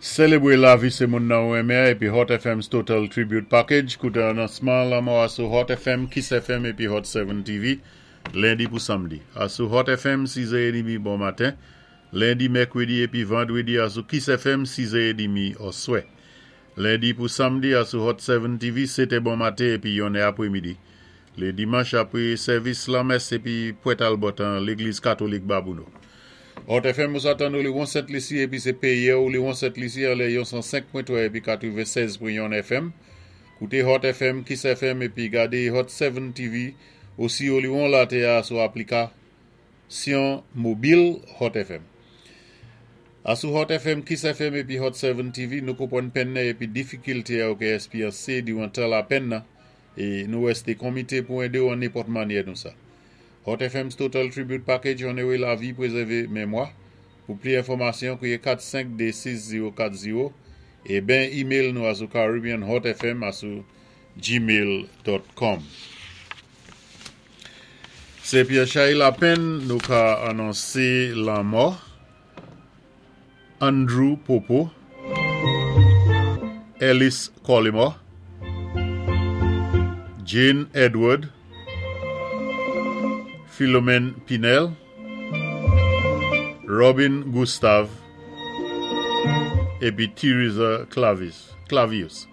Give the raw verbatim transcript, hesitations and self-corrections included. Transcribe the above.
Sélébwé lavi sé moun nan ou renmen épi Hot F M's Total Tribute Package. Kouté anonsman lanmò a sou Hot F M, Kiss F M épi Hot sept T V, lendi pou samdi. Asou Hot F M, sis è edmi bon maten. Lendi, mèkwédi épi vandwédi asou Kiss F M, sis è edmi oswè. Lendi pou samdi asou Hot sept T V, sétè bon maten épi yonnè apwémidi. Lé dimanch apwé sèvis lamès épi pwèt Albert an légliz katolik Babonneau. Hot F M ou sa tann ou Liwon Sent Lisi épi sé péyi ou Liwon Sent Lisi an lè yon san senk pwen twa épi katwennsèz pwen yon F M. Kouté Hot F M, Kiss F M épi gadé Hot sept T V osi ou liwon latè a sou aplikasyon mobil Hot F M. Asou Hot F M, Kiss F M épi Hot sept T V, nou konpwann penn nan épi difikilté a ou ka éksperyansé diwan tan lapenn nan é nou wésté komité pou édé ou an nenpòt mannyè nou sa. Hot F M's Total Tribute Package onoré lavi, pwézèvé mémwa. Pou pli enfòmasyon, kwiyé kat senk dé sis zéwo kat zéwo é ben email nou asou caribbeanhotfm asou gmail dot com. Sé pi chay lapenn nou ka anonsé lanmò Andrew Popo, Ellis Collymore, Jane Edward, Philomène Pinel, Robin Gustave, épi Theresa Clavis, Clavius.